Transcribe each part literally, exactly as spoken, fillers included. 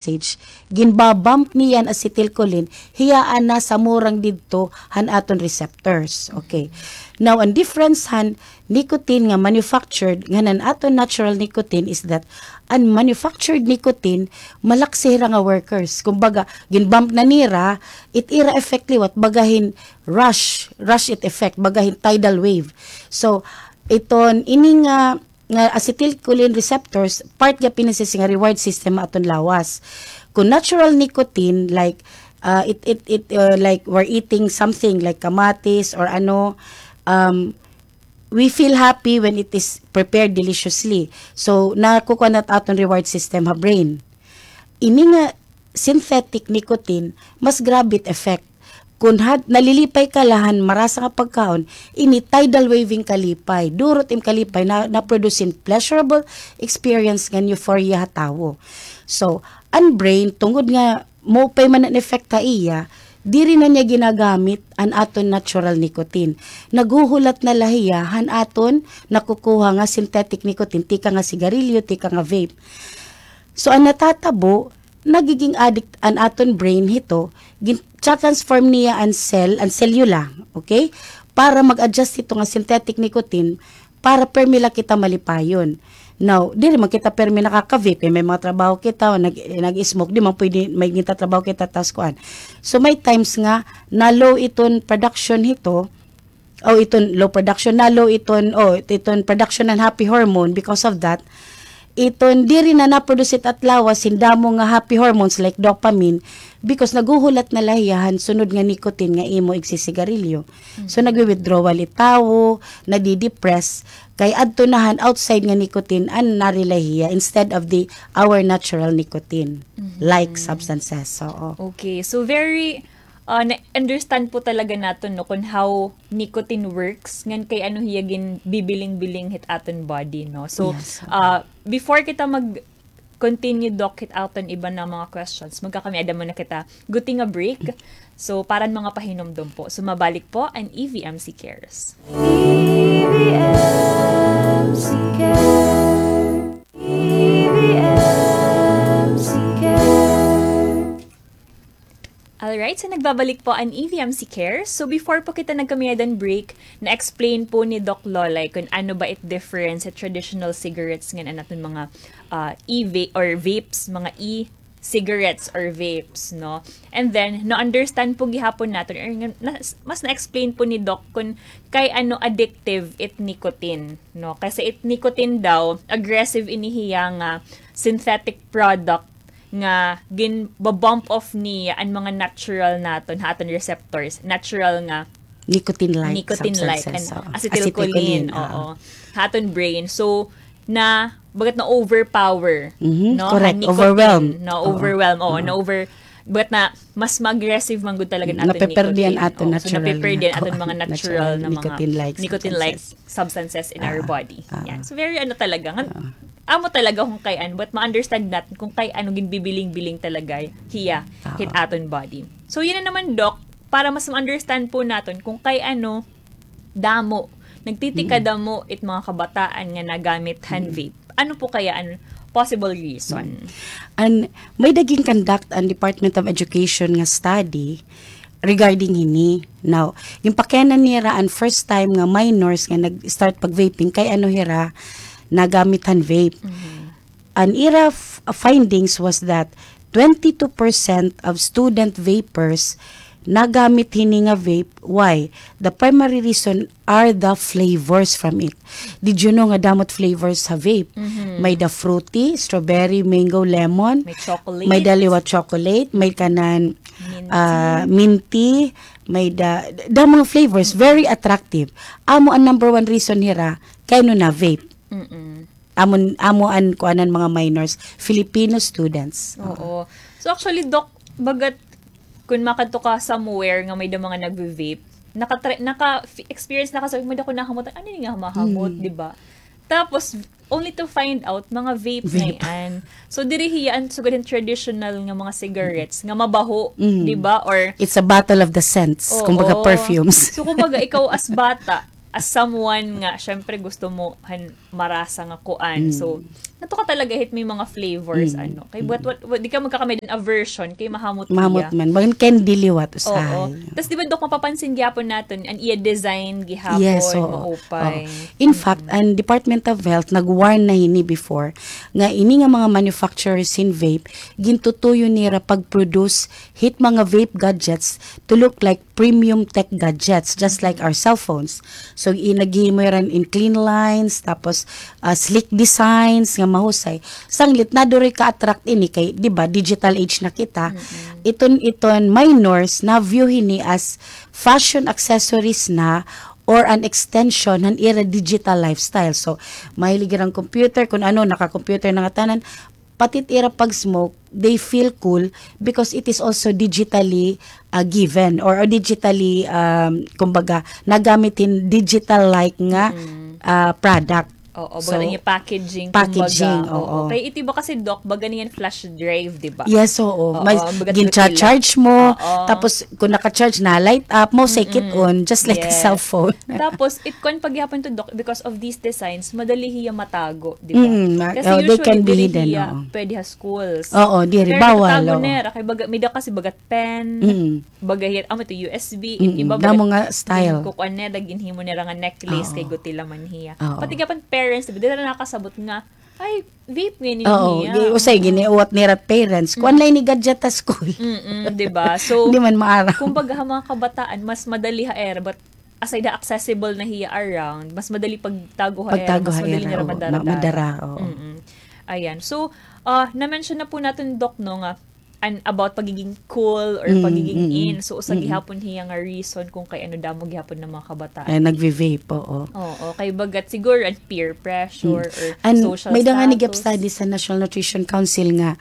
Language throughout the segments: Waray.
message, ginbabump niya an acetylcholine, hiya an nasamurang didto han aton receptors. Okay. Now, an difference han nicotine nga manufactured ngan an aton natural nicotine is that an manufactured nicotine, malaksi hira nga workers. Kumbaga, ginbump na nira, it ira effect liwat, baga hin rush, rush it effect, baga hin tidal wave. So, iton, ini nga nga acetylcholine receptors, part gihap ini sisay nga reward system ha aton lawas. Kon natural nicotine, like, uh, it, it, it, uh, like, we're eating something like kamatis or ano, um, we feel happy when it is prepared deliciously. So, nakukuha na it aton reward system ha brain. Ini nga synthetic nicotine, mas grabe it effect. Kon had, nalilipay ka la han marasa nga pagkaon, ini tidal waving kalipay. Duro it im kalipay na, na-produce hin pleasurable experience ngan euphoria ha tawo. So, an brain, tungod nga maupay man an effect ha iya, diri na niya ginagamit an aton natural nicotine. Naghuhulat na la hiya han aton nakukuha nga synthetic nicotine, tikang ha sigarilyo, tikang ha vape. So, an natatabo, nagiging addict an aton brain hito, gin-, transform niya an cell, an selula, okay? Para mag-adjust hito nga synthetic nicotine, para permi la kita malipayon. Now, diri man kita permi nakaka-vape, eh, may mga trabaho kita, nag-, nag-smoke, di man pwede, may gintatrabaho kita, tas kuan. So, may times nga, na-low iton production hito, o iton low production na, low iton, o iton production han happy hormone. Because of that, iton diri na na-produce it at lawas hin damo nga happy hormones like dopamine, because naghuhulat na la hiya han sunod nga nicotine nga imo igsisigarilyo. So, nagwi-withdrawal it tawo, nadidepress, kay adto na han outside nga nicotine an na-rely hiya instead of the, our natural nicotine, like substances. Oo. Okay, so very Ah, na-understand po talaga naton, no, kon how nicotine works, ngan kay ano hiya ginbibiling-biling hit aton body, no? So, ah, before kita mag-continue, Doc, hit aton iba na mga questions, magkakami-ada muna kita guti nga break. So, para han mga pahinumdom po. So, mabalik po an E V M C Cares. E V M C Care. E V M C Care. Alright, so nagbabalik po an E V M C Cares. So before po kita nagkamiyadan break, na-explain po ni Doc Lolay kung ano ba it difference sa traditional cigarettes ngan an aton mga, ah, e-vape or vapes, mga e-cigarettes or vapes, no? And then, na-understand po gihapon naton, or nga, na, mas na-explain po ni Doc kung kay ano addictive it nicotine, no? Kasi it nicotine daw, aggressive ini hiya nga synthetic product nga ginba-bump off niya an mga natural naton, ha aton receptors, natural nga nicotine-like, nicotine-like, substances, an oo. Acetylcholine, acetylcholine, oo. Ha aton brain. So, na, bagat na-overpower, no? Correct. Ha nicotine, overwhelm. Na-overwhelm, oo, na-over-, bagat na, mas ma-aggressive man gud talaga an aton nicotine. Napeperdi an aton natural, so, napeperdi an aton mga natural na mga nicotine-like substances in our body. Yan. So, very ano talaga, nga, amo talaga kung kay ano, but ma-understand naton kung kay ano ginbibiling-biling talaga hiya hit aton body. So, yun na naman, Doc, para mas ma-understand po naton kung kay ano damo, nagtitikadamo it mga kabataan nga nagamit han vape. Ano po kaya an possible reason? An, may-ada gin-conduct an Department of Education nga study regarding hini. Now, ginpakian-an nira an first time nga minors nga nag-start pag-vaping, kay ano hira nagamit han vape. An ira f-, findings was that twenty-two percent of student vapers nagamit hini nga vape. Why? The primary reason are the flavors from it. Did you know nga damo it flavors ha vape? May-ada fruity, strawberry, mango, lemon. May chocolate. May-ada liwat chocolate, may kanan, ah, minty, may-ada, damo nga flavors, very attractive. Amo an number one reason hira kay ano na-vape. Amo, amo an kuan han mga minors, Filipino students. Oo. So actually, Doc, bagat kun makadto ka somewhere nga may-ada mga nagve-vape, naka-try, naka-experience na ka sa, may-ada ko nahamot, ano ini nga mahamot, di ba? Tapos, only to find out, mga vape na yan. So, diri hiya an sugad hin traditional nga mga cigarettes, nga mabaho, di ba? Or it's a battle of the scents, kumbaga perfumes. So, kumbaga, ikaw as bata, as someone nga, syempre, gusto mo han marasa nga kuan. So, natuka talaga hit may mga flavors, ano. Kay what, what, what, di ka magkakamay din aversion, kay mahamot Mahamot iya. Man. Bagan candy liwat, usahay. Oo. Tas, di ba, Doc, mapapansin gihapon naton, an iya design gihapon, Yes, oo. maupay. Oo. In fact, an Department of Health, nag-warn na hini before, nga ini nga mga manufacturers hin vape, gintutuyo nira pag-produce hit mga vape gadgets to look like premium tech gadgets, just like our cell phones. So, i-, naghimo ira hin clean lines, tapos, ah, sleek designs nga mahusay. Sanglit, nadiri ka-attract ini kay, di ba, digital age na kita. Iton, iton minors, na-view hini as fashion accessories na or an extension han ira digital lifestyle. So, mahilig ira han computer, kun ano, naka-computer na ngatanan, pati it ira pag-smoke, they feel cool because it is also digitally, ah, given or, or digitally, um, kumbaga, nagamit hin digital-like nga, ah, product. Oo, So, baga niya packaging, packaging, kumbaga. Oo. oo. Kay ito ba kasi, Doc, baga niyan flash drive, di ba? Yes, oo. Oo, May baga gin-charge mo, Oo. tapos kung naka-charge na, light up mo, say kit-on, just like a Yes. cellphone. Tapos, it kuan pa gihapon to, Doc, because of these designs, madali hiya matago, di ba? Mm, ma-, Kasi oh, they usually, can be diri hidden, hiya oo. pwede ha schools. Oo, diri, Pero bawal, nagtatago oo. nira, kay baga, may da kasi bagat pen, Mm. baga hiya, amo to, U S B, Mm, iba damo bagat nga style. gin-, kukuan nira, ginhimo nira nga necklace, Oo. kay gutilaman hiya. Oo. Pati gihapon parents, di ba, diri nakasabot nga, ay, vape nga ini Oo, niya. gi-, usay, giniuwat nira parents. Kuan Mm. lang ini gadget ha school. Mm-mm, di ba? So, Di man maaram. kumbaga, ha mga kabataan, mas madali ha era, but aside ha accessible na hiya around, mas madali pagtago ha era, Pagtago mas ha madali era, nira oo. madara-dara. Ma-, madara, oo. Mm-mm. Ayan. So, ah, na-mention na po natin, Doc, no, nga, an, about pagiging cool or Mm, pagiging mm, in. So, usa mm. gihapon hiya nga reason kung kay ano damo gihapon ng mga kabataan. Ay, nagvi-vape, oo. Oo, kay bagat siguro an peer pressure Mm. or An, social may da nga ni status. gap study sa National Nutrition Council nga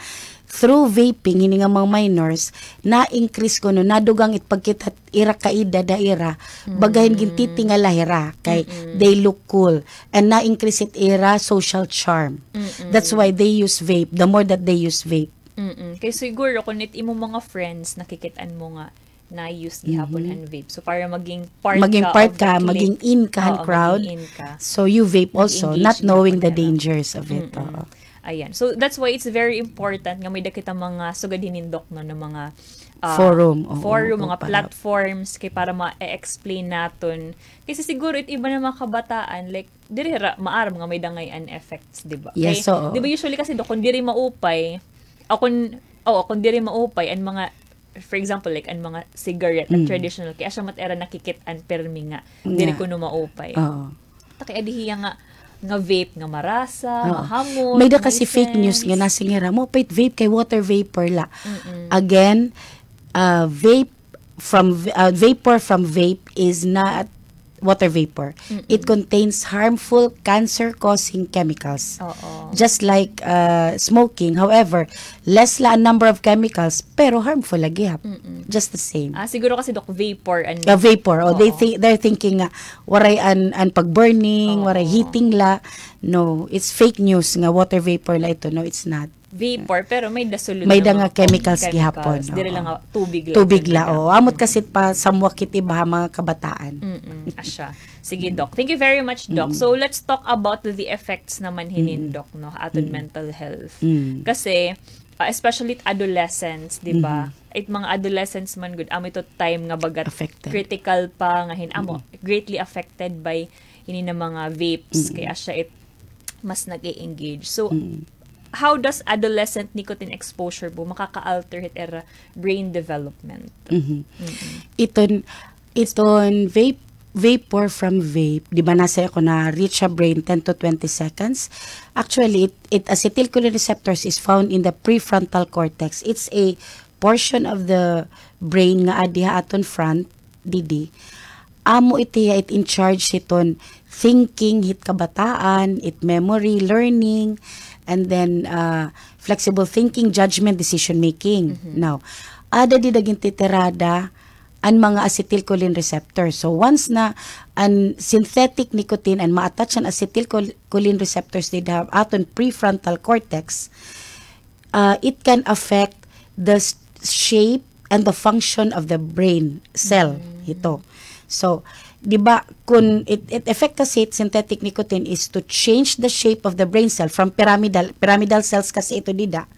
through vaping, hini nga mga minors, na-increase kuno, nadugang it pagkita ira kaedad ha ira, bagahin Mm. gintitingala hira, kay Mm-mm. they look cool. And na-increase it ira social charm. Mm-mm. That's why they use vape, the more that they use vape. Mm-mm. Kay siguro, kung it imo mga friends, nakikit-an mo nga, na-use gihapon Mhm. an vape. So, para maging part Maging ka part of the ka, clique. maging in ka han Oo, crowd. maging in ka. So, you vape also, Mag-engage not knowing gihapon the nila. dangers of it. Mm-mm. Oo. Ayan. So, that's why it's very important nga may da kita mga sugad hinin, Doc, no, na mga, ah, Forum, oo, forum, oo, mga para platforms, kay para ma-explain naton. Kasi siguro, it iba na mga kabataan, like, diri ra maaram nga may da ngay-an effects, di ba? Yes, Kay, oo. di ba usually kasi, Doc, kung diri maupay, o kung, oo, kung diri maupay, an mga, for example, like, an mga cigarette, an Mm. traditional, kay asya man it ira nakikit-an pirmi nga, diri Yeah. kuno maupay. Oo. Ta kay adi hiya nga, nga vape nga marasa, Oo. mahamot, May da kasi fake news nga nasiring hira, maupay it vape kay water vapor la. Mm-mm. Again, uh, vape from v-, uh, vapor from vape is not water vapor. Mm-mm. It contains harmful cancer-causing chemicals. Oo. Just like, uh, smoking. However, less la an number of chemicals, pero harmful la gihap. Mm-mm. Just the same. Ah, siguro kasi, Doc, vapor an Ah, vapor. Oh, they Oo. thi-, they're thinking nga waray an, an pag-burning, Oo. waray heating la. No, it's fake news nga water vapor la ito. No, it's not. Vapor, pero may da sulod May da na nga mga chemicals chemicals. gihapon, Diri oo. lang nga tubig la Tubig la, ito. oo. Amot kasi pa samwak it iba ha mga kabataan. Mm-mm, asya. Sige, Doc. Thank you very much, Doc. Mm. So, let's talk about the effects naman hinin, Mm. Doc, no, aton Mm. mental health. Mm. Kasi, ah, especially it adolescents, di ba? Mm-hmm. It mga adolescents man gud, amo ito time nga bagat Affected. critical pa, nga hin-, amo, Mm. greatly affected by hini na mga vapes, Mm. kay asya it mas nag-e-engage. So, Mm. how does adolescent nicotine exposure po makaka-alter hit ira brain development? Mhm. Mm-mm. Iton, iton vape, vapor from vape, di ba nasa ako na reach sa brain ten to twenty seconds? Actually, it, it acetylcholine receptors is found in the prefrontal cortex. It's a portion of the brain nga adi ha aton front, didi. Amo iti, it in charge hiton thinking hit kabataan, it memory, learning, and then, uh, flexible thinking, judgment, decision making. Mhm. Now, ada dida gintitirada an mga acetylcholine receptors. So, once na an synthetic nicotine an ma-attach an acetylcholine receptors dida ha aton prefrontal cortex, uh, it can affect the s-, shape and the function of the brain cell Mm. hito. So, Di ba, kun it, it effect kasi it synthetic nicotine is to change the shape of the brain cell from pyramidal, pyramidal cells kasi ito dida.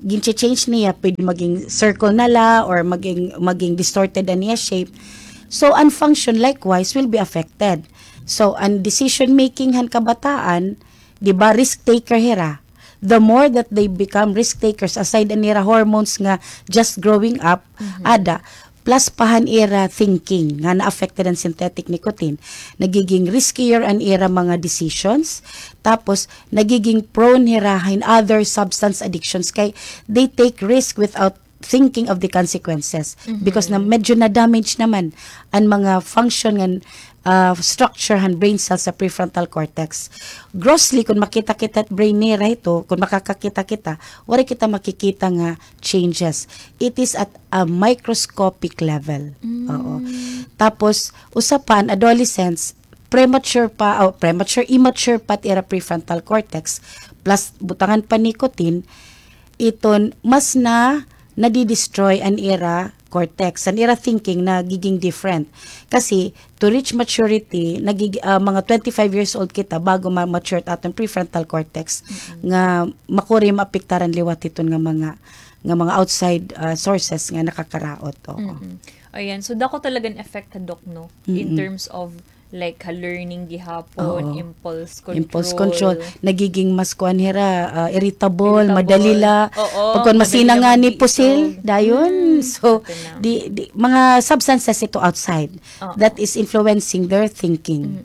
Gin-change niya, pwede maging circle na la or maging, maging distorted an iya shape. So, an function likewise will be affected. So, an decision making han kabataan, di ba, risk taker hira. The more that they become risk takers, aside an ira hormones nga just growing up, ada, plus pa han ira thinking nga na-affected an synthetic nicotine. Nagiging riskier an ira mga decisions, tapos nagiging prone hira hin other substance addictions kay they take risk without thinking of the consequences. Because na medyo na-damage naman an mga function ngan, ah, structure han brain cells sa prefrontal cortex. Grossly, kun makita kita it brain nira ito, kun makakakita kita, waray kita makikita nga changes. It is at a microscopic level. Oo. Tapos, usa pa, an adolescents, premature pa, o premature, immature pa it ira prefrontal cortex, plus butangan pa nicotine, iton mas na nadi-destroy an ira cortex, an ira thinking nagiging different. Kasi, to reach maturity, nagig-, ah, mga twenty-five years old kita bago ma-mature it aton prefrontal cortex nga makuri maapektaran liwat hiton nga mga, nga mga outside, ah, sources nga nakakaraot. Oo. Ayan. So, dako talaga an effect, Doc, no? In terms of, like, ha learning gihapon, impulse control. Impulse control. Nagiging mas kuan hira, ah, irritable, madali la. Oo, pagkuan, masina nga ni pusil, dayon. So, di, di, mga substances ito outside that is influencing their thinking.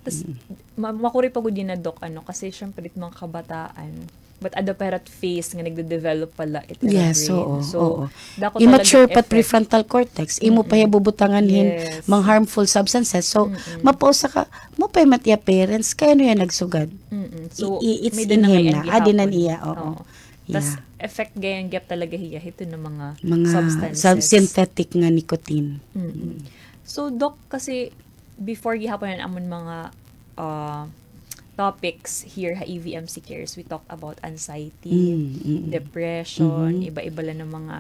Tas, ma-, makuri pa gud yana, Doc, ano, kasi syempre, it mga kabataan, but ada pa hira it phase nga nagde-develop pa la it ira brain. Yes, oo. So, dako talaga immature pa it effect. Prefrontal cortex, imo pa hiya bubutangan hin mga harmful substances. So, mapausa ka, mao pa man it iya parents, kay ano hiya nagsugad? So, it's in him na. Adi na niya, oo. Tas, effect gihap talaga hiya hito nga mga substances. Mga synthetic nga nicotine. So, Doc, kasi before gihapon an amon mga, ah, topics here ha E V M C Cares, we talk about anxiety, depression, iba-iba la nga mga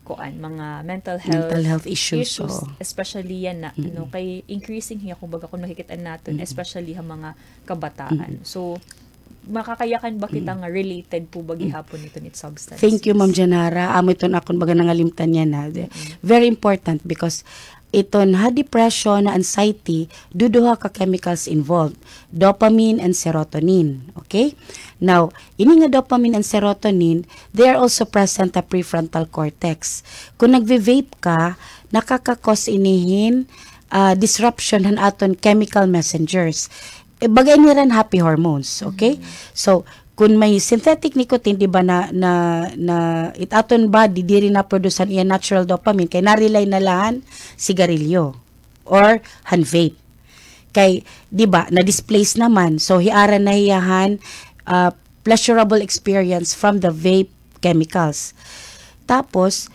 kuan, mga mental health issues, especially yana, no, kay increasing hiya, kumbaga, kun makikit-an naton, especially ha mga kabataan. So, makakayakan ba kita nga related po ba gihapon iton it substance? Thank you, Ma'am Janara. Amo iton akon baga nangalimtan yana. Very important because iton ha depression, ha anxiety, duduha ka chemicals involved, dopamine and serotonin. Okay? Now, ini nga dopamine and serotonin, they are also present ha prefrontal cortex. Kun nagve-vape ka, nakaka-cause ini hin, ah, disruption han aton chemical messengers. Eh, baga ini hira an happy hormones, okay? So, kun may synthetic nicotine, di ba, na, na, na it aton body diri na-produce han iya natural dopamine, kay na-rely na la han sigarilyo or han vape. Kay, di ba, na-displace naman. So, hiara na hiya han, ah, pleasurable experience from the vape chemicals. Tapos,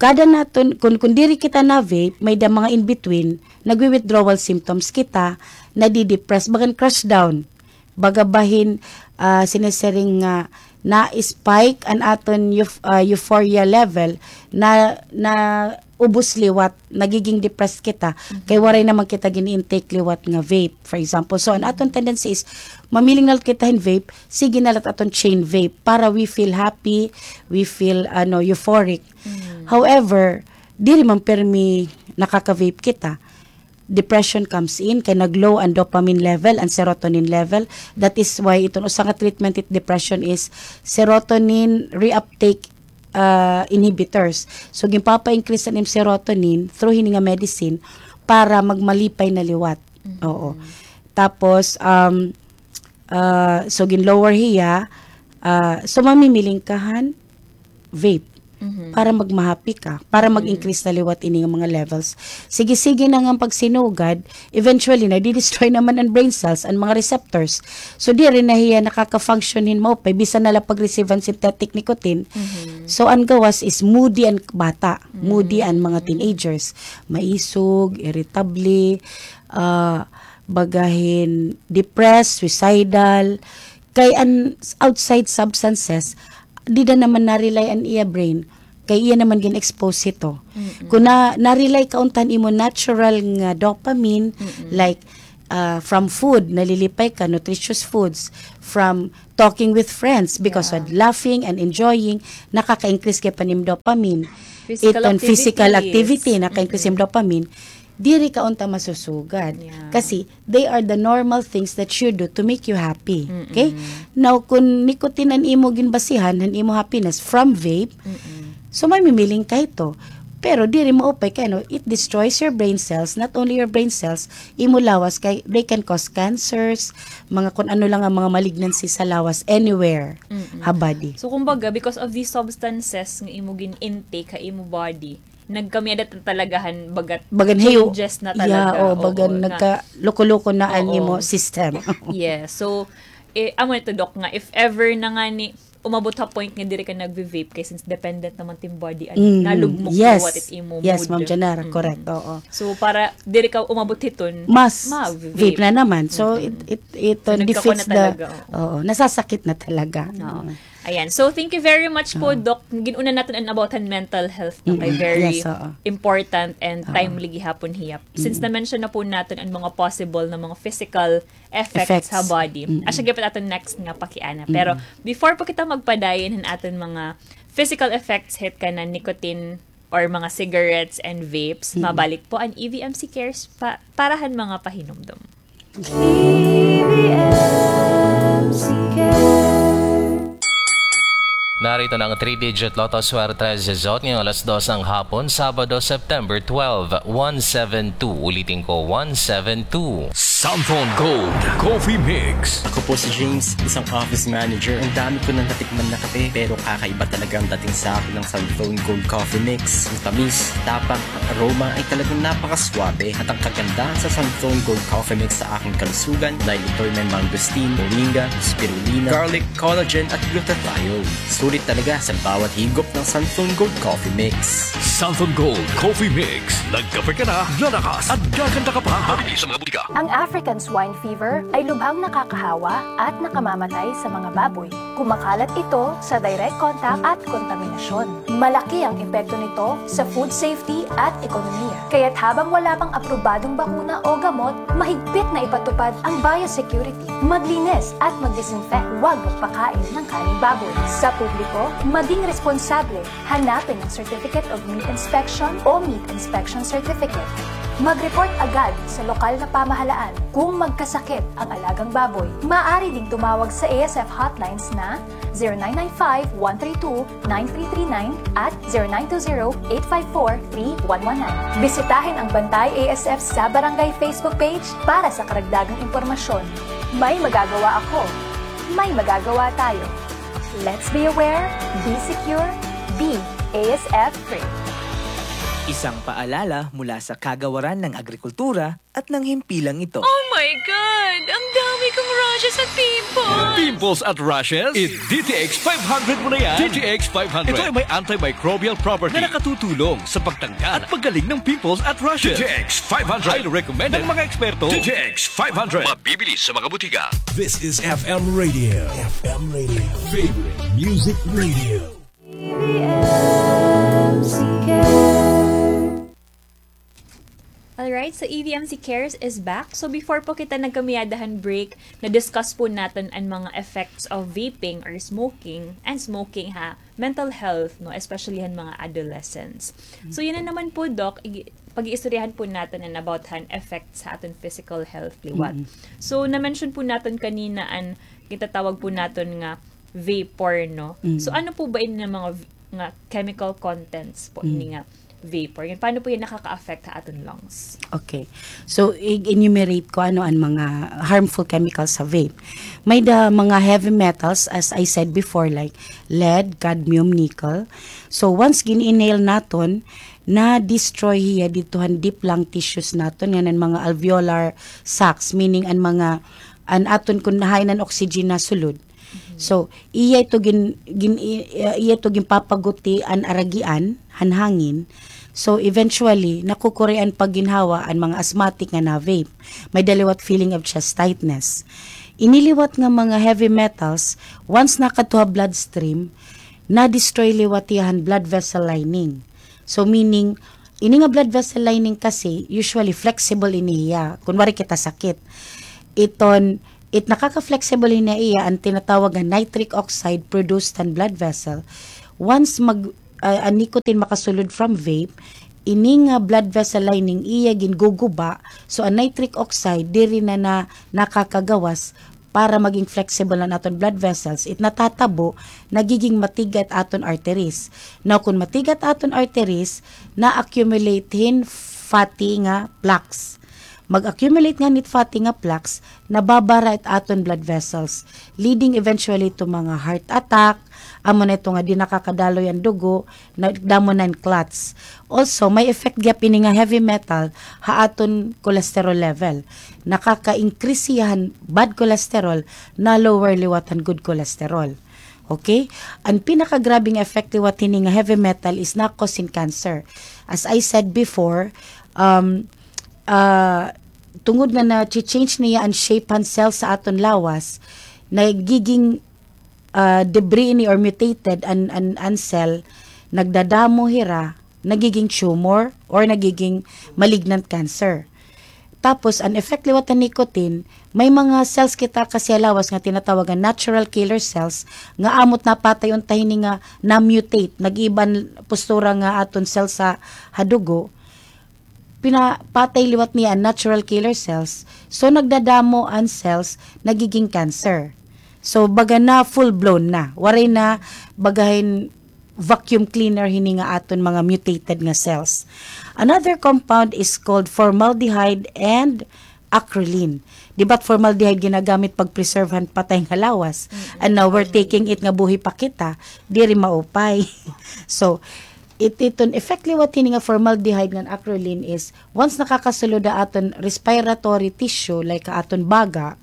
kada naton, kun, kun diri kita na-vape, may-ada mga in between, nagwi-withdrawal symptoms kita, nadi-depress, bagan crash down. Baga bahin, ah, sinisiring nga na-spike an aton euph-, ah, euphoria level, na, naubos liwat, nagiging depressed kita, kay waray naman kita gin-intake liwat nga vape, for example. So, an aton tendency is, mamiling na la kita hin vape, sige na la it aton chain vape, para we feel happy, we feel, ano, euphoric. However, diri man pirmi nakaka-vape kita. Depression comes in, kay nag-low an dopamine level, an serotonin level. That is why iton usa nga treatment it depression is serotonin reuptake, ah, inhibitors. So, ginpapa-increase an im serotonin through hini nga medicine para magmalipay na liwat. Oo. Tapos, um, ah, so, gin-lower hiya, ah, so, mamimiling ka han vape para magmahappy ka, para mag-increase na liwat ini nga mga levels. Sige-sige na nga an pagsinugad, eventually, nadi-destroy naman an brain cells, an mga receptors. So, diri na hiya nakaka-function hin maupay, bisan na la pag-receive han synthetic nicotine. So, an gawas is moody an bata, moody an mga teenagers. Maisog, irritable, ah, baga hin depressed, suicidal. Kay an outside substances, dida naman na-rely an iya brain. Kay iya naman gin-expose hito. Mm-mm. Kung na, na-rely ka unta han imo natural nga dopamine, mm-mm, like, ah, from food, nalilipay ka, nutritious foods, from talking with friends, because, yeah, of laughing and enjoying, nakaka-increase gihap han imo dopamine. Physical activity. Iton physical activity, naka-increase, mm-mm, imo dopamine. Diri ka unta masusugad. Yeah. Kasi, they are the normal things that you do to make you happy. Mm-mm. Okay? Now, kung nicotine an imo ginbasihan, an imo happiness from vape, mm-mm, so mamimiling ka hito. Pero diri maupay kay ano, it destroys your brain cells, not only your brain cells, imo lawas kay they can cause cancers, mga kun ano lang an mga malignancy sa lawas anywhere, mm-mm, ha body. So, kumbaga, because of these substances nga imo gin-intake ha imo body, nagkamiyadat na talaga han baga, bagan hayo, changes na talaga. Yeah, o, bagan, oo, na nagkaloko-loko na an, oo, imo system. Yes. So, eh, amo ito, Doc, nga if ever na ngani umabot ha point nga diri ka nagvi-vape, kay since dependent naman it im body, ano, mm, nalugmok, yes, liwat it imo mood. Yes, Ma'am Janara, mm-mm, correct, oo. So, para diri ka umabot hiton, mas ma-vape, vape na naman. So, mm-mm, it, it, it, uh, so, defeats the, nagkakuna talaga, oo, nasasakit na talaga. Oo. Mm. Ayan. So, thank you very much po, oo, Doc. Gin-una naton an about han mental health, no? Kay, mm-mm, very, yes, oo, important and, oo, timely gihapon hiya. Since, mm-mm, na-mention na po naton an mga possible na mga physical effects, effects, ha body. Mm-mm. Asya gihapon aton next nga pakiana. Mm-mm. Pero before pa kita magpadayon han aton mga physical effects hit kanan nicotine or mga cigarettes and vapes, mm-mm, mabalik po an E V M C Cares pa-, para han mga pahinumdom. E V M C Cares. Narito na ang three-digit Lotto Swerte result ngayong alas dos ng hapon, Sabado, September twelve, one seven two. Ulitin ko, one seven two. Santhon Gold Coffee Mix. Ako po si James, isang office manager. Ang dami ko nang natikman na kape, pero kakaiba talaga ang dating sa akin ng Santhon Gold Coffee Mix. Ang tamis, tapang, ang aroma ay talagang napakaswabe. At ang kagandahan sa Santhon Gold Coffee Mix sa aking kalusugan dahil ito'y may mangosteen, moringa, spirulina, garlic, collagen at glutathione. Sulit talaga sa bawat higop ng Santhon Gold Coffee Mix. Santhon Gold Coffee Mix. Nagkape ka na, lalakas at gaganda ka pa. Mabibili sa mga butika. Ang African swine fever ay lubhang nakakahawa at nakamamatay sa mga baboy. Kumakalat ito sa direct contact at kontaminasyon. Malaki ang epekto nito sa food safety at ekonomiya. Kaya't habang wala pang aprobadong bakuna o gamot, mahigpit na ipatupad ang biosecurity. Maglinis at mag-disinfect, huwag magpakain ng kaning baboy. Sa publiko, maging responsable. Hanapin ang Certificate of Meat Inspection o Meat Inspection Certificate. Mag-report agad sa lokal na pamahalaan kung magkasakit ang alagang baboy. Maaari ding tumawag sa A S F hotlines na zero nine nine five, one three two, nine three three nine at zero nine two zero, eight five four, three one one nine. Bisitahin ang Bantay A S F sa Barangay Facebook page para sa karagdagang impormasyon. May magagawa ako. May magagawa tayo. Let's be aware, be secure, be A S F free. Isang paalala mula sa Kagawaran ng Agrikultura at ng himpilang ito. Oh my God! Ang dami kong rashes at pimples! Pimples at rashes? I-D T X five hundred mo na yan. D T X five hundred. Ito ay may antimicrobial property na nakatutulong sa pagtanggal at paggaling ng pimples at rashes. D T X five hundred. Highly recommended ng mga eksperto. D T X five hundred. Mabibili sa mga butika. This is F M Radio. F M Radio. Favorite Music Radio. E V M C Cares. Alright, so E V M C Cares is back. So before po kita nagkamiyada han break, na-discuss po naton an mga effects of vaping or smoking, and smoking ha mental health, no, especially han mga adolescents. So yana naman po, Doc, ig-, pag-iistoryahan po naton an about han effects ha aton physical health liwat. Mm-mm. So na-mention po naton kanina an gintatawag po naton nga vapor, no? Mm. So, ano po ba ini nga mga v-, nga chemical contents po, mm, ini nga vapor? Yan, paano po yan nakaka-affect ha aton lungs? Okay. So, i-enumerate ko ano an mga harmful chemicals sa vape. May-ada mga heavy metals, as I said before, like lead, cadmium, nickel. So, once gin-inhale naton, na-destroy hiya didto han deep lung tissues naton, ngan an mga alveolar sacs, meaning an mga, an aton kun hain an oxygen nasulod. So, iya ito gin-, gin-, i-, iya ito ginpapaguti an aragian han hangin. So, eventually, nakukuri an pagginhawa an mga asthmatic nga na-vape. May-ada liwat feeling of chest tightness. Ini liwat nga mga heavy metals, once nakadto ha bloodstream, na-destroy liwat hiya han blood vessel lining. So, meaning, ini nga blood vessel lining kasi, usually flexible ini hiya, kun waray kita sakit. Iton, it nakaka-flexible ini hiya, an tinatawag nga nitric oxide produced han blood vessel. Once mag, ah, an nicotine makasulod from vape, ini nga blood vessel lining iya ginguguba, so an nitric oxide diri na, na nakakagawas para maging flexible an aton blood vessels. It natatabo, nagiging matiga it aton arteries. Now, kun matiga it aton arteries, na-accumulate hin fatty nga plaques. Mag-accumulate ngan it fatty nga plaques, nababara it aton blood vessels, leading eventually to mga heart attack, amo na ito nga di nakakadaloy an dugo, na, damo na in clots. Also, may effect gihap ini nga heavy metal ha aton cholesterol level. Nakaka-increase hiya han bad cholesterol, na-lower liwat han good cholesterol. Okay? An pinakagrabeng effect liwat hini nga heavy metal is na-cause hin cancer. As I said before, um, ah, tungod nga na-change niya an shape han cell sa aton lawas, nagiging, ah, debris ini or mutated an, an, an cell, nagdadamo hira, nagiging tumor or nagiging malignant cancer. Tapos, an effect liwat han nicotine, may mga cells kita kasi ha lawas nga tinatawag nga natural killer cells, nga amo it napatay unta hini nga na-mutate, nag-iba an postura nga aton cells sa, ha dugo, pinapatay liwat niya an natural killer cells. So, nagdadamo an cells, nagiging cancer. So, baga na full-blown na. Waray na, baga hin vacuum cleaner hini nga aton mga mutated nga cells. Another compound is called formaldehyde and acrolein. Di ba't formaldehyde ginagamit pag-preserve han patay nga lawas? Mm-mm. And now we're taking it nga buhi pa kita, diri maupay. So, it, iton effect liwat hini nga formaldehyde ngan acrolein is, once nakakasulod ha aton respiratory tissue, like ha aton baga,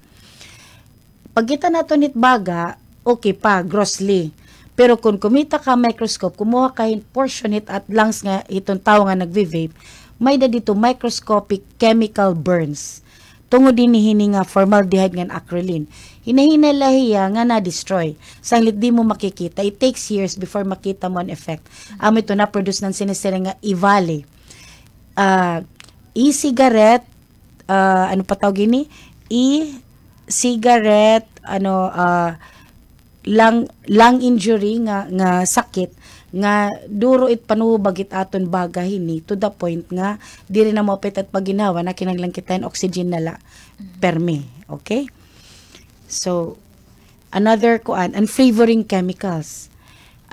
pagkita naton hit baga, okay pa, grossly. Pero kun kumita ka microscope, kumuha ka hin portion hit at lungs nga hiton tawo nga nagve-vape, may-ada didto microscopic chemical burns. Tungod hini, hini nga formaldehyde ngan acrolein. Hinay-hinay la hiya nga na-destroy. Sanglit di mo makikita. It takes years before makita mo an effect. Amo ito na-produce han sinisiring nga EVALI. Ah, e-cigarette, ah, ano pa tawag ini? E-cigarette, ano, ah, lung, lung injury nga, nga sakit, nga duro it panuhubag it aton baga hini, to the point nga diri na maupay it pagginhawa, na kinahanglan kita hin oxygen na la, permi. Okay? So, another kuan, an flavoring chemicals.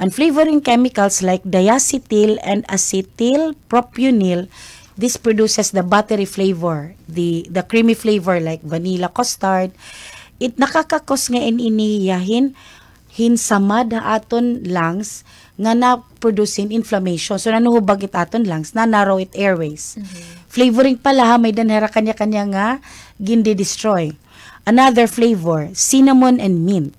An flavoring chemicals like diacetyl and acetyl propionyl, this produces the buttery flavor, the, the creamy flavor like vanilla, custard. It nakaka-cause nga in ini hiya hin, hin samad ha aton lungs nga na-produce hin inflammation. So, nanuhubag it aton lungs, na-narrow it airways. Mhm. Flavoring pa la ha, may-ada hira kanya-kanya nga gindi-destroy. Another flavor, cinnamon and mint.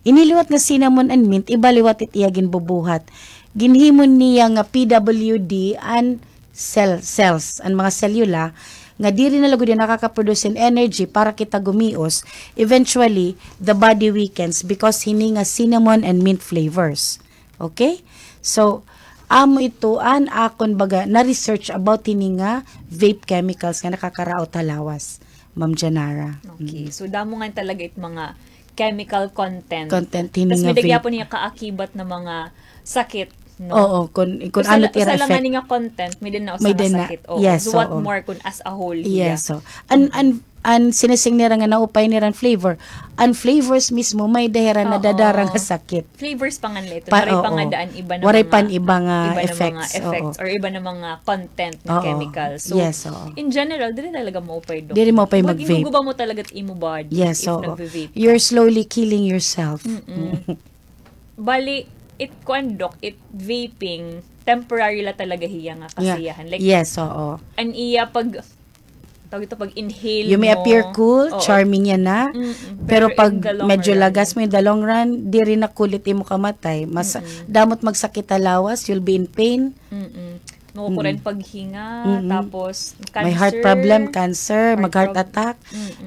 Ini liwat nga cinnamon and mint, iba liwat it iya ginbubuhat. Ginhimo niya nga P W D an cell, cells, an mga selula, nga diri na lugod hiya nakaka-produce hin energy para kita gumios. Eventually, the body weakens because hini nga cinnamon and mint flavors. Okay? So, amo ito an akon baga na-research about hini nga vape chemicals nga nakakaraot ha lawas, Ma'am Janara. Okay. Mm. So, damo nga talaga it mga chemical content. Content, hini nga vape. Tas may-ada gihapon niya kaakibat na mga sakit, no? Oo, kun, kun ano it ira effect. Usa la, usa la ngani nga content, may-ada na usa nga sakit. Oo. Yes, oo. So, what more kun as a whole hiya? Yes, so. An, an, an sinisiring nira nga naupay nira an flavor. An flavors mismo, may-ada hira nadadara nga sakit. Flavors pa ngani la ito. Waray pa ngada an iba na mga, waray pa an iba nga effects, oo, or iba na mga content nga chemical. So, yes, oo, in general, diri talaga maupay, Doc. Diri maupay mag-vape. Ginguguba mo talaga it imo body if nagve-vape ka. Yes, oo. You're slowly killing yourself. Mm-mm. Bali, it, kuan, Doc, it vaping, temporary la talaga hiya nga kasiyahan. Like, yes, oo, an iya pag, tawag ito, pag-inhale mo. You may appear cool, oo, charming yana. Mm-mm. Pero pag medyo lagas mo, in the long run, diri na cool it imo kamatay. Mas, mm-mm, damo it magsakit ha lawas, you'll be in pain. Mm-mm. Makukuran paghinga, tapos may heart problem, cancer, mag-heart attack.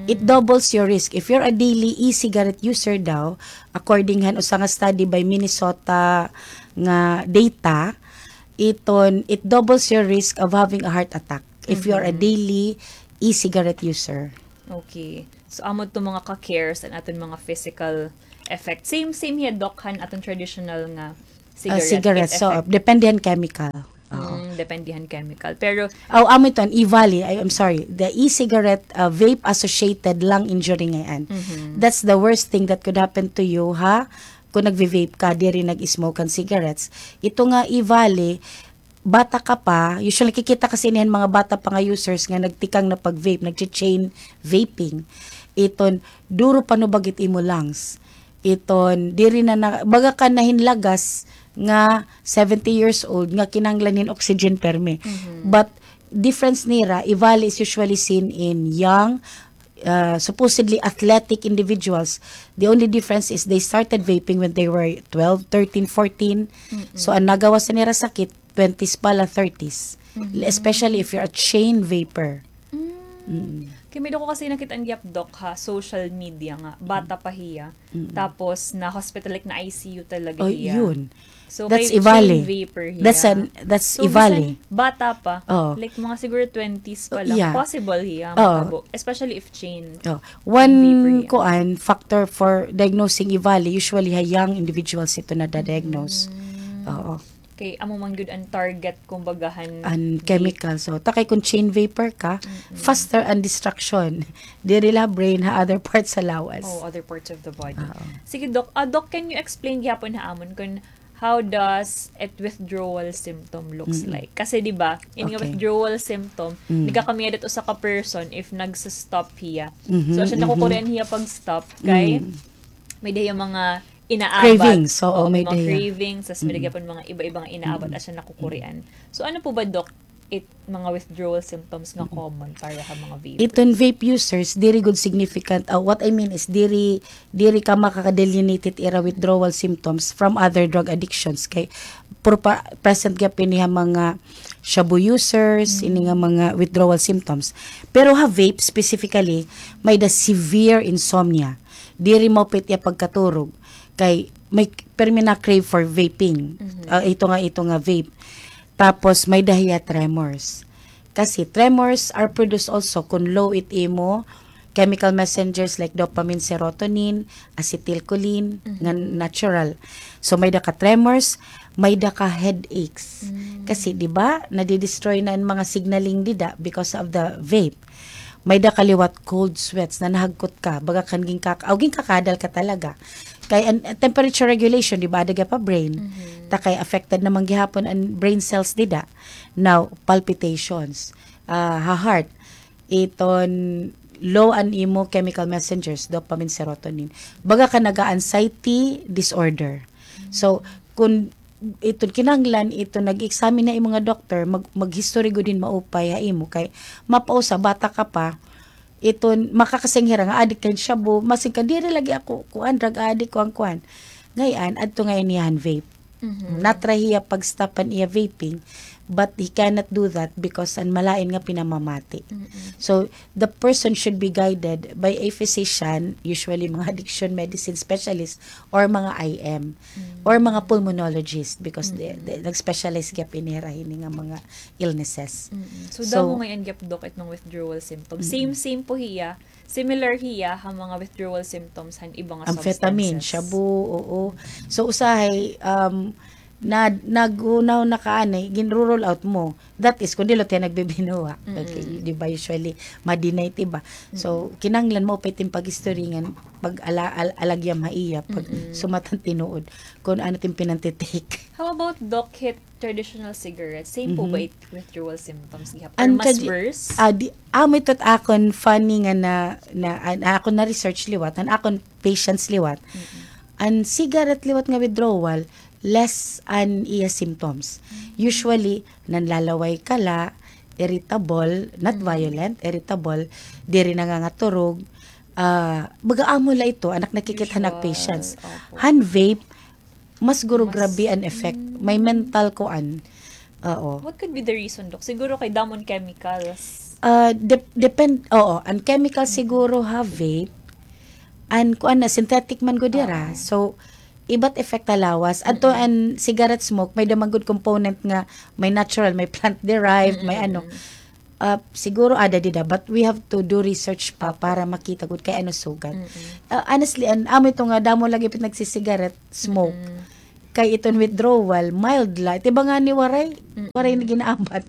It doubles your risk. If you're a daily e-cigarette user daw, according han usa nga study by Minnesota nga data, iton, it doubles your risk of having a heart attack if you're a daily e-cigarette user. Okay. So, amo to mga ka-cares an aton mga physical effect. Same, same hiya, Doc, han aton traditional nga cigarette. So, depende han chemical. Depende han chemical. Pero, aw, amo ito, an e-valley, I, I'm sorry, the e-cigarette, uh, vape-associated lung injury ngay-an. That's the worst thing that could happen to you, ha? Kung nagve-vape ka, diri nag-smoke han cigarettes. Ito nga e-valley, bata ka pa, usually nakikita kasi ini han mga bata pa nga users nga nagtikang na pag-vape, nagche-chain vaping. Iton, duro panubag it imo lungs. Iton, diri na, na baga ka na hin lagas nga seventy years old nga kinahanglan hin oxygen permi. But difference nira, e-valley is usually seen in young, uh, supposedly athletic individuals. The only difference is they started vaping when they were twelve, thirteen, fourteen. So, an nagawas nira sakit, twenties pa la, thirties. Especially if you're a chain vapor. Kay may dako kasi nakit-an gihap, Doc, ha social media nga bata pa hiya. Tapos na-hospital, like, na-I C U talaga hiya. So, that's e-valley. Chain vapor hiya. That's an, that's e-valley. Bisan bata pa. Like, mga siguro twenties pa lang. Possible hiya matabo. Especially if chain vapor hiya. One kuan, factor for diagnosing e-valley, usually ha young individuals ito nada-diagnose. Oo. Kay amo man gyud an target, kumbaga, han chemical. So, takay kung chain vapor ka, faster an destruction. Diri la brain, ha other parts sa lawas. Oh, other parts of the body. Sige, Doc. Ah, Doc, can you explain gihapon ha amon kung how does it withdrawal symptom looks like? Kasi, di ba, ini nga withdrawal symptom, nagkakamiyadat usa ka person if nagsa-stop hiya. So, asya nakukurian hiya pag-stop kay may-ada hiya mga inaabat. Cravings, oo, may-ada hiya. Cravings, tas may-ada gihapon mga iba-iba nga inaabat, asya nakukurian. So, ano po ba, Doc, it mga withdrawal symptoms nga common para ha mga vapers? Iton vape users, diri gud significant. Ah, what I mean is, diri, diri ka makaka-delineate it ira withdrawal symptoms from other drug addictions. Kay, puro pa, present gihap ini ha mga shabu users, ini nga mga withdrawal symptoms. Pero ha vape specifically, may-ada severe insomnia. Diri maupay it iya pagkaturog. Kay may permi na-crave for vaping. Ah, ito nga, ito nga vape. Tapos may-ada hiya tremors. Kasi tremors are produced also kun low it imo chemical messengers like dopamine, serotonin, acetylcholine, nga natural. So may-ada ka tremors, may-ada ka headaches. Kasi, di ba, nadi-destroy na an mga signaling dida because of the vape. May-ada ka liwat cold sweats, nanahagkot ka, baga kan ginkaka-, aw, ginkakadal ka talaga. Kay an, an temperature regulation, di ba, ada gihap ha brain. Takay affected naman gihapon an brain cells dida. Now, palpitations, ah, ha heart, iton low an imo chemical messengers, dopamine, serotonin. Baga ka naga-anxiety disorder. So, kun iton kinahanglan, iton nag-examine ha imo nga doktor, mag-, mag-history gud hin maupay ha imo kay mapausa, bata ka pa, iton makakasing hira nga adik ka hin shabu, masing ka, diri lagi ako, kuan, drug addict, kuan, kuan. Ngay-an, adto ngay-an hiya han vape. Na-try hiya pag-stop han iya vaping, but he cannot do that because an malain nga pinamamati. So, the person should be guided by a physician, usually mga addiction medicine specialist, or mga I M, or mga pulmonologist, because they, they nag-specialize gihap ini hira hini nga mga illnesses. So, damo ngay-an gihap, Doc, iton withdrawal symptoms. Same, same po hiya. Similar hiya ha mga withdrawal symptoms han iba nga substances. Amphetamine, shabu, oo. So, usahay, um, na, nag-unaw na ka ani, ginru-rule out mo. That is, kun diri la hiya nagbibinuwa. Okay, di ba, usually, ma-deny it iba. So, kinahanglan maupay it im pag-history ngan pag-ala-, al-, alagyam ha iya, pag sumat han tinuod, kun ano it im pinanti-take. How about, Doc, hit traditional cigarettes? Same po ba it withdrawal symptoms gihap? Or mas worse? Ah, di, amo ito it akon funny nga na, na, an akon na-research liwat, an akon patients liwat. An cigarette liwat nga withdrawal, less an iya symptoms. Usually, nanlalaway ka la, irritable, not violent, irritable, diri nangangaturog, ah, baga amo la ito, an ak nakikita han ak patients. Han vape, mas guro grabe an effect. May mental kuan. Oo. What could be the reason, Doc? Siguro kay damo an chemicals. Ah, dep-, depend, oo, an chemical siguro ha vape, an kuan na, synthetic man gud dira. Oo. So, iba't effect ha lawas. Adto an cigarette smoke, may-ada man gud component nga may natural, may plant derived, may ano. Ah, siguro ada dida, but we have to do research pa para makita gud kay ano sugad. Ah, honestly, an amo ito nga damo lagi pit nagsisigaret, smoke. Kay iton withdrawal, mild la. Iti ba ngani waray, waray na ginaabat.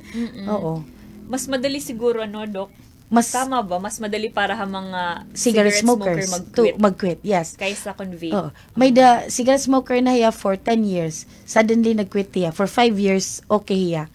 Oo. Mas madali siguro, ano, Doc? Mas tama ba? Mas madali para ha mga cigarette smoker mag-quit. Mag-quit, yes. Kaysa kon vape. Oo. May-ada cigarette smoker na hiya for ten years. Suddenly nag-quit hiya. For five years, okay hiya.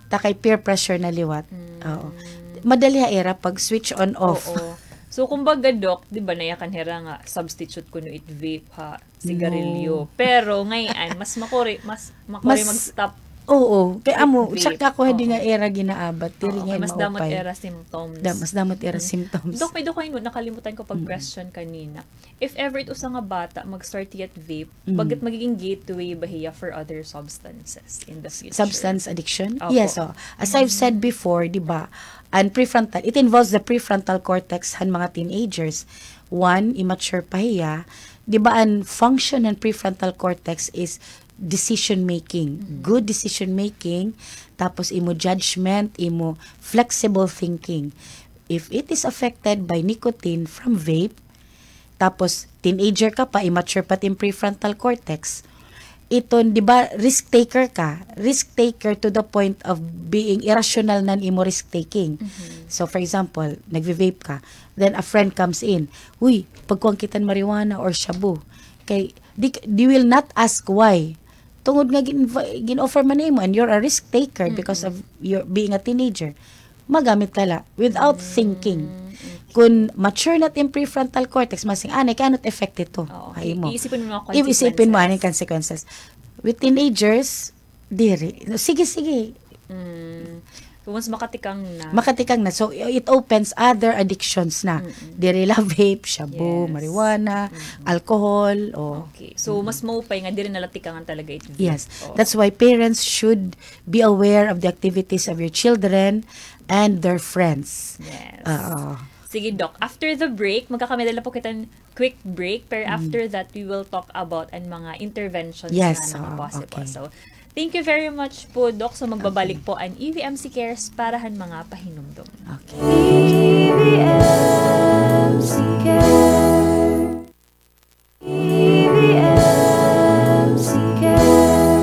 Ta kay peer pressure na liwat. Oo. Madali ha ira pag switch on off. Oo. So, kumbaga, Doc, di ba, nayakan hira nga substitute kuno it vape ha sigarilyo. No. Pero ngay-an, mas makuri, mas makuri mag-stop. Oo, kay amo, check ako hadi nga ira ginaabat, diri nga mas damo it ira symptoms. Mas damo it ira symptoms. Doc, may-ada ko, nakalimutan ko pag-question kanina. If ever it usa nga bata mag-start hiya it vape, baga it magiging gateway ba hiya for other substances in the future? Substance addiction? Opo. Yes, oh. As I've said before, di ba, an prefrontal, it involves the prefrontal cortex han mga teenagers. One, immature pa hiya. Di ba, an function han prefrontal cortex is decision making, good decision making, tapos imo judgment, imo flexible thinking. If it is affected by nicotine from vape, tapos teenager ka pa, immature pa it im prefrontal cortex, iton, di ba, risk taker ka, risk taker to the point of being irrational na an imo risk taking. So, for example, nagve-vape ka, then a friend comes in, "Uy, pagkuan kita hin marijuana or shabu." Kay, di, they will not ask why. Tungod nga gin-, gin-offer man nimo and you're a risk taker because of your being a teenager. Magamit ka la without thinking. Kon mature na it im prefrontal cortex, masiring, "Ah, anay, kay ano it effect hito ha imo?" Iisipon mo mga consequences. Iisipon mo anay consequences. With teenagers, diri. Sige, sige. So, mas makatikang na. Makatikang na. So, it opens other addictions na. Diri la vape, shabu, marijuana, alcohol, o. Okay. So, mas maupay nga diri na la tikangan talaga it vape. Yes. That's why parents should be aware of the activities of your children and their friends. Yes. Oo. Sige, Doc. After the break, magkakamay-ada la po kita hin quick break, pero after that, we will talk about an mga interventions nga mga possible. So, thank you very much po, Doc. So, magbabalik po an E V M C Cares para han mga pahinumdom. Okay. E V M C Cares. E V M C Cares.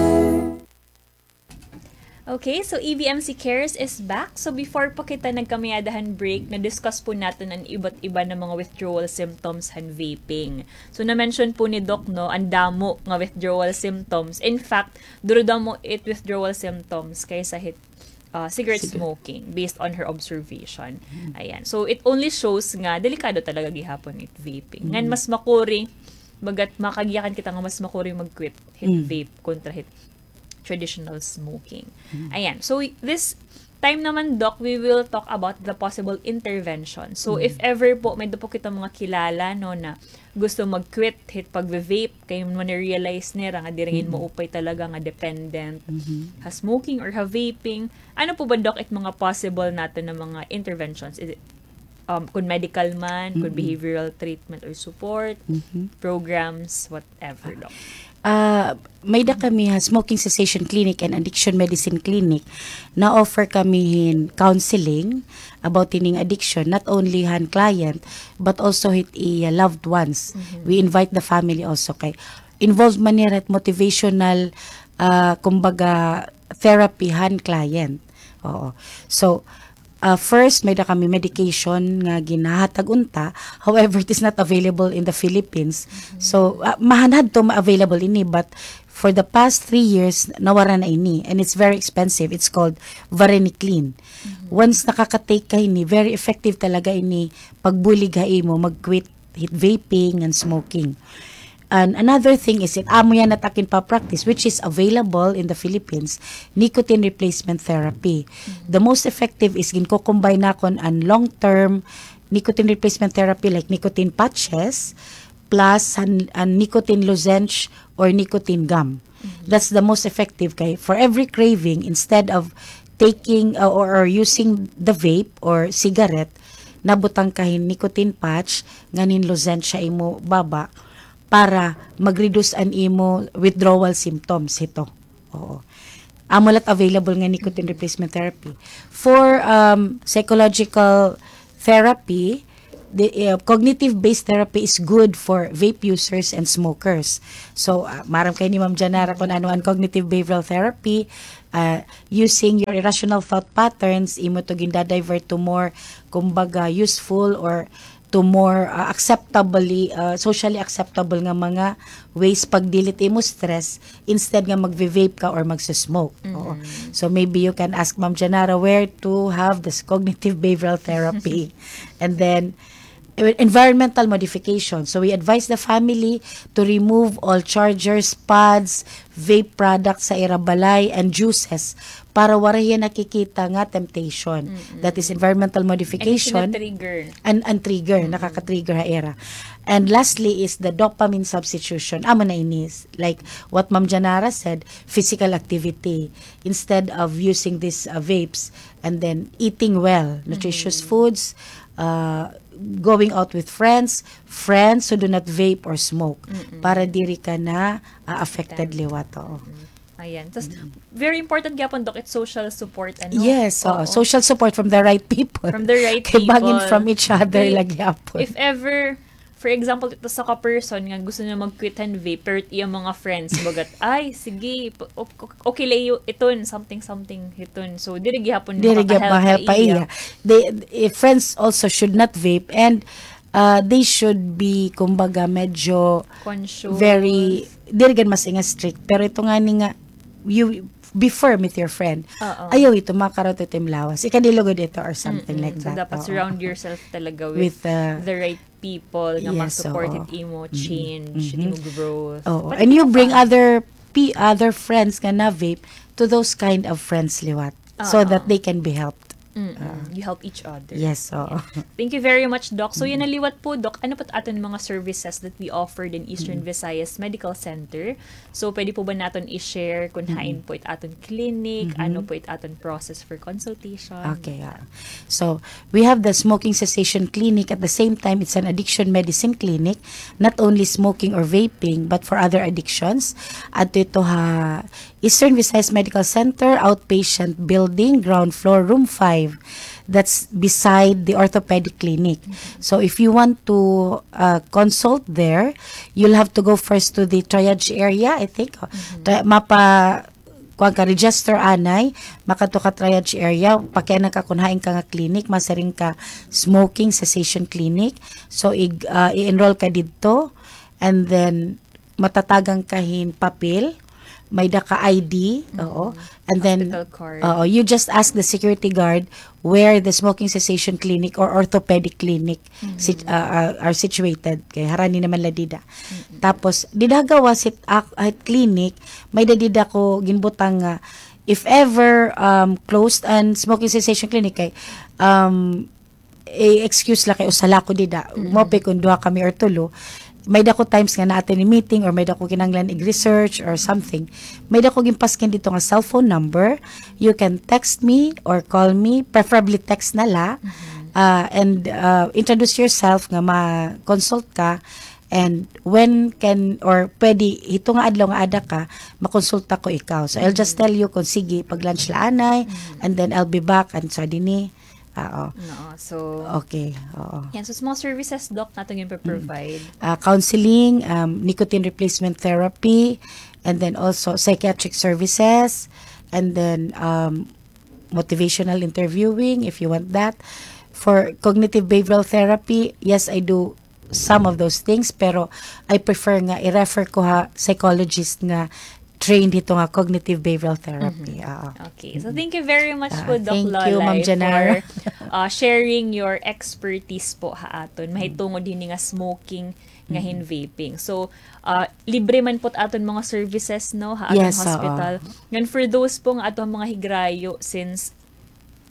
Okay, so E V M C Cares is back. So before pa kita nagkamay-ada han break, na-discuss po naton an iba't iba na mga withdrawal symptoms han vaping. So na-mention po ni Doc, no, an damo nga withdrawal symptoms. In fact, duro-damo it withdrawal symptoms kaysa hit, ah, cigarette smoking based on her observation. Ayan. So it only shows nga delikado talaga gihapon it vaping. Ngan mas makuri, bagat makagiyakan kita nga mas makuri mag-quit hit vape kontra hit traditional smoking. Ayan. So, this time naman, Doc, we will talk about the possible intervention. So, if ever po, may-ada po kita mga kilala, no, na gusto mag-quit hit pag-vape, kay man-realize nira nga diri ngani maupay talaga nga dependent ha smoking or ha vaping. Ano po ba, Doc, it mga possible naton na mga interventions? Is it, um, kun medical man, kun behavioral treatment or support, programs, whatever, Doc? Ah, may-ada kami ha Smoking Cessation Clinic and Addiction Medicine Clinic. Na-offer kami hin counseling about hining addiction, not only han client, but also hit iya loved ones. We invite the family also kay involved man nira hit motivational, ah, kumbaga, therapy han client. Oo. So, ah, first, may-ada kami medication nga ginhahatag unta. However, it is not available in the Philippines. So, ah, mahanhadto ma-available ini, but for the past three years, nawara na ini. And it's very expensive. It's called varenicline. Once nakaka-take ka hini, very effective talaga ini pagbulig ha imo, mag-quit hit vaping and smoking. And another thing is, it amo yana it akon pa-practice, which is available in the Philippines, nicotine replacement therapy. The most effective is ginko-combine nakon an long-term nicotine replacement therapy like nicotine patches, plus an, an nicotine lozenge or nicotine gum. That's the most effective kay for every craving, instead of taking, uh, or, or using the vape or cigarette, nabutang ka hin nicotine patch, ngan hin lozenge ha imo baba para mag-reduce an imo withdrawal symptoms hito. Oo. Amo la it available nga nicotine replacement therapy. For, um, psychological therapy, the, uh, cognitive-based therapy is good for vape users and smokers. So, uh, maaram kay ni Ma'am Janara kung ano an cognitive behavioral therapy, uh, using your irrational thought patterns, imo to gindadivert to more, kumbaga, useful or to more, uh, acceptably, uh, socially acceptable nga mga ways pag-deal it imo stress instead nga magve-vape ka or magsusmoke. Oo. So maybe you can ask Ma'am Janara where to have this cognitive behavioral therapy. And then, e-, environmental modification. So we advise the family to remove all chargers, pods, vape products sa ira balay and juices para waray hiya nakikita nga temptation. That is environmental modification. And trigger. And, and trigger, nakaka-trigger ha ira. And lastly is the dopamine substitution. Amo na ini, like what Ma'am Janara said, physical activity. Instead of using these, uh, vapes, and then eating well, nutritious foods, uh, going out with friends, friends who do not vape or smoke, para diri ka na, uh, affected liwat. Oo. Ayan. Tas, very important gyapon, Doc, it's social support, ano? Yes, oo. Social support from the right people. From the right people. Kay bangin from each other la gyapon. If ever, for example, ito sa ka-person nga gusto niya mag-quit han vape, pero iya mga friends, bagat, "Ay, sige, okay la iton, something, something, hiton." So, diri gyapon makaka-help pa iya. They, eh, friends also should not vape and, uh, they should be, kumbaga, medyo very, diri gad mas inga strict, pero ito ngani nga, you be firm with your friend. Ayaw ito, makakaroon ito im lawas. Ikadilugod ito or something like that. So, dapat surround yourself talaga with, uh, the right people nga mag-support it imo change, it imo growth. Oo. And you bring other pe-, other friends nga na-vape to those kind of friends liwat so that they can be helped. You help each other. Yes, oo. Thank you very much, Doc. So, yana liwat po, Doc. Ano po it aton mga services that we offered in Eastern Visayas Medical Center? So, pwede po ba naton i-share kung hain po it aton clinic, ano po it aton process for consultation? Okay, ah. So, we have the smoking cessation clinic. At the same time, it's an addiction medicine clinic. Not only smoking or vaping, but for other addictions. Adto ito ha Eastern Visayas Medical Center, outpatient building, ground floor, room five. That's beside the orthopedic clinic. So if you want to, uh, consult there, you'll have to go first to the triage area, I think. Tri-, mapa-, kuan ka, register anay, makadto ka triage area, pakiana ka kun hain ka nga clinic, masiring ka smoking cessation clinic. So ig-, uh, i-enroll ka didto, and then matatagan ka hin papel, may-ada ka I D, oo. And then, oo, you just ask the security guard where the smoking cessation clinic or orthopedic clinic sit-, uh, uh, are situated. Kay harani naman la dida. Tapos, dida ha gawas hit, ah, hit clinic, may-ada dida ko ginbutang nga, if ever, um, closed an smoking cessation clinic, kay, um, i-excuse la kay usa la ko dida. Mao pa kon duha kami or tulo. May-ada ko times nga naa tini meeting or may-ada ko kinahanglan ig-research or something. May-ada ko ginpaskin didto nga cellphone number. You can text me or call me, preferably text na la. Ah, and, ah, introduce yourself nga ma-consult ka. And when can, or pwede, hito nga adlaw nga ada ka, makonsulta ko ikaw. So, I'll just tell you kung sige, pag-lunch la anay, and then I'll be back, and so, dini, Oo. No, so, okay, oo. Yan, so, sa mga services, Doc, naton yung provide. Ah, counseling, um, nicotine replacement therapy, and then also psychiatric services, and then, um, motivational interviewing, if you want that. For cognitive behavioral therapy, yes, I do some of those things, pero I prefer nga i-refer ko ha psychologist nga trained hito nga cognitive behavioral therapy. Oo. Okay. So, thank you very much po, Doc Lollay, for, uh, sharing your expertise po ha aton. Mahitungod hini nga smoking nga hin vaping. So, ah, libre man po aton mga services, no, ha aton hospital. Ngan for those po nga aton mga higrayo, since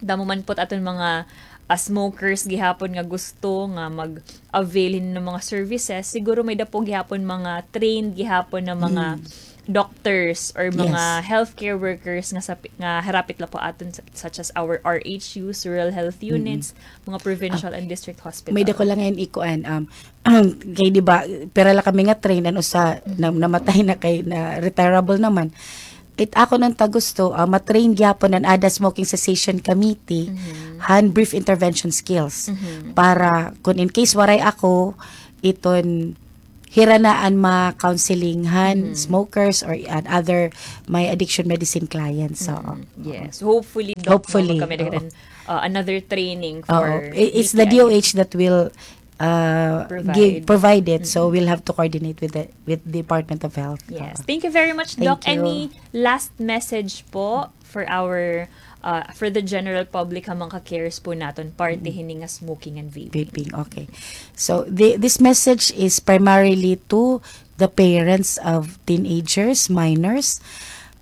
damo man po aton mga, ah, smokers gihapon nga gusto nga mag-avail hin mga services, siguro may-ada po gihapon mga trained gihapon na mga doctors or mga healthcare workers nga sa, nga harapit la po aton, such as our R H Us, rural health units, mga provincial and district hospitals. May-ada ko la ngay-an ikuan, um, kay di ba, pira la kami nga trained, an usa na, namatay na kay na retirable naman. It ako nan ta gusto, ah, ma-train gyapon an ada smoking cessation committee han brief intervention skills. Para kun in case waray ako, iton hira na an ma-counseling han smokers or an other may addiction medicine clients. So, yes. Hopefully, Doc, hopefully, kami uh, another training for I- it's the D O H that will uh, provide. Provide it. So we'll have to coordinate with the with Department of Health. Yes. Thank you very much, Doc. Any last message po for our uh, for the general public, ha mga ka-cares po naton, parte hini nga smoking and vaping? Vaping, okay. So the, this message is primarily to the parents of teenagers, minors.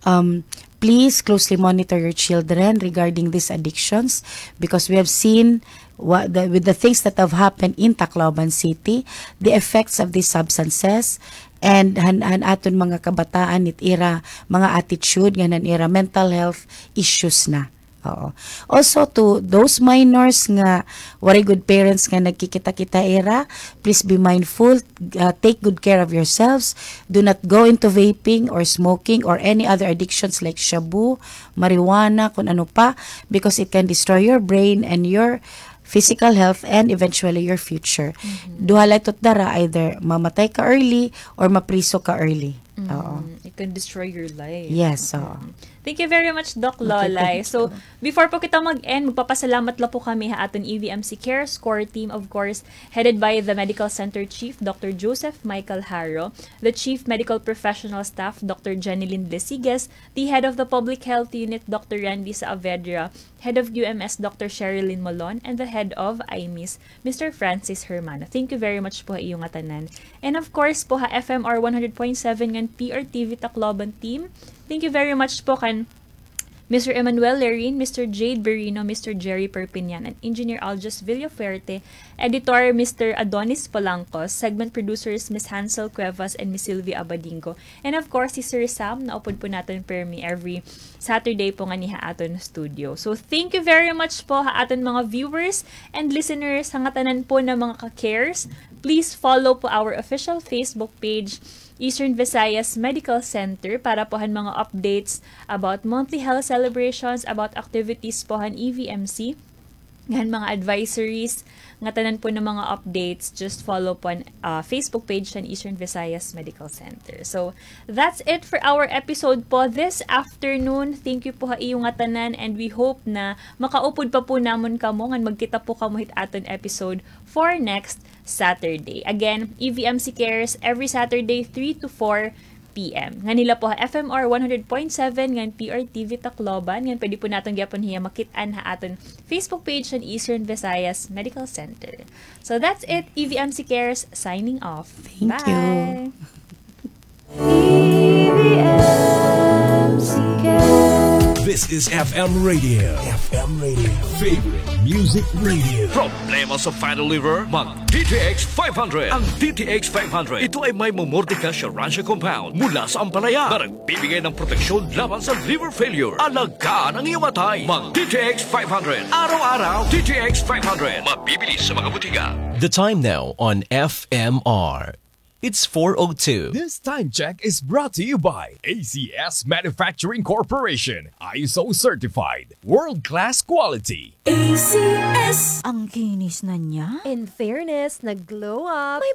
Um, please closely monitor your children regarding these addictions because we have seen what the, with the things that have happened in Tacloban City, the effects of these substances, and han, han aton mga kabataan, it ira mga attitude ngan han ira mental health issues na. Oo. Also, to those minors nga waray good parents nga nagkikita-kita ira, please be mindful, uh, take good care of yourselves. Do not go into vaping or smoking or any other addictions like shabu, marijuana, kun ano pa, because it can destroy your brain and your physical health and eventually your future. Duha la ito dara, either mamatay ka early or mapriso ka early. Oo. It can destroy your life. Yes, oo. Thank you very much, Doc Lolay. So, before po kita mag-end, magpapasalamat la po kami ha aton E V M C Cares Core Team, of course, headed by the Medical Center Chief, Doctor Joseph Michael Haro, the Chief Medical Professional Staff, Doctor Jenilyn Blesiges, the Head of the Public Health Unit, Doctor Randy Saavedra, Head of Q M S, Doctor Sherilyn Molon, and the Head of I M I S, Mister Francis Hermano. Thank you very much po ha iyo ngatanan. And of course po ha F M R one hundred point seven ngan P R T V Tacloban team. Thank you very much po kan Mister Emmanuel Lerin, Mister Jade Berino, Mister Jerry Perpignan, and Engineer Aljus Villafuerte, Editor, Mister Adonis Polangcos, segment producers, Miss Hansel Cuevas and Miss Sylvia Abadingo, and of course, si Sir Sam, naupod po naton permi every Saturday po ngani ha aton studio. So, thank you very much po ha aton mga viewers and listeners, ha ngatanan po na mga ka-cares. Please follow po our official Facebook page, Eastern Visayas Medical Center, para po han mga updates about monthly health celebrations, about activities po han E V M C. Ngan mga advisories, ngatanan po na mga updates, just follow po an, ah, Facebook page han Eastern Visayas Medical Center. So, that's it for our episode po this afternoon. Thank you po ha iyo ngatanan, and we hope na makaupod pa po namon kamo ngan magkita po kamo hit aton episode for next Saturday. Again, E V M C Cares every Saturday, three to four P M. Ngan hila po ha F M R one hundred point seven ngan P R T V Tacloban, ngan pwede po naton gihapon hiya makit-an ha aton Facebook page han Eastern Visayas Medical Center. So that's it, E V M C Cares signing off. Thank you. Bye. E V M C Cares. This is F M Radio. F M Radio. Favorite music radio. Problema sa fatty liver? Mag D T X five hundred. Ang D T X five hundred, ito ay may mamordica siya rancia compound mula sa ampalaya na nagbibigay ng proteksyon laban sa liver failure. Alagaan ang iyong atay. Mag D T X five hundred. Araw-araw, D T X five hundred. Mabibili sa mga butika. The time now on F M R. It's four oh two. This time check is brought to you by A C S Manufacturing Corporation. I S O certified. World-class quality. A C S. Ang kinis na niya. In fairness, nag-glow up.